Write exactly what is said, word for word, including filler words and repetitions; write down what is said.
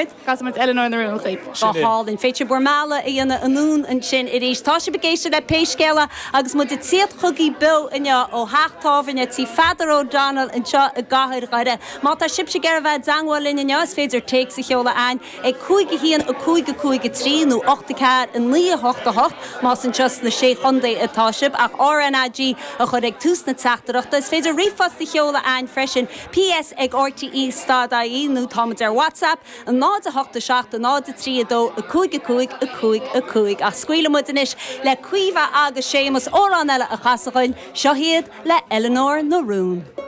Casfaimid Eleanor na Rún chugaibh. Go hálainn féidir bhur mbealach a dhéanamh anonn ansin arís. Tá sibh ag éisteacht le Pé Scéal É agus muid ag tíocht chugaibh beo inniu ó theach tábhairne tí Pheadar O'Donnell anseo i gcathair Dhoire. Má tá sibhse ag iarraidh bheith i dteagmháil linn inniu is féidir téacs a sheoladh chugainn ag cúig a haon a cúig a cúig a trí nó ocht a ceathair a naoi a hocht a hocht más anseo sna sé chontae atá sibh ach RnaG a chur ag tús na teachtaireachta. Is féidir ríomhphost a sheoladh chugainn freisin PS ag RTE stad IE nó táimid ar WhatsApp an náid a hocht a seacht a náid a trí a dó a cúig a cúig a cúig a cúig ach scaoilfidh muid anois le Caoimhe agus Séamus amhrán eile a chasadh seo iad le Eleanor na Rún.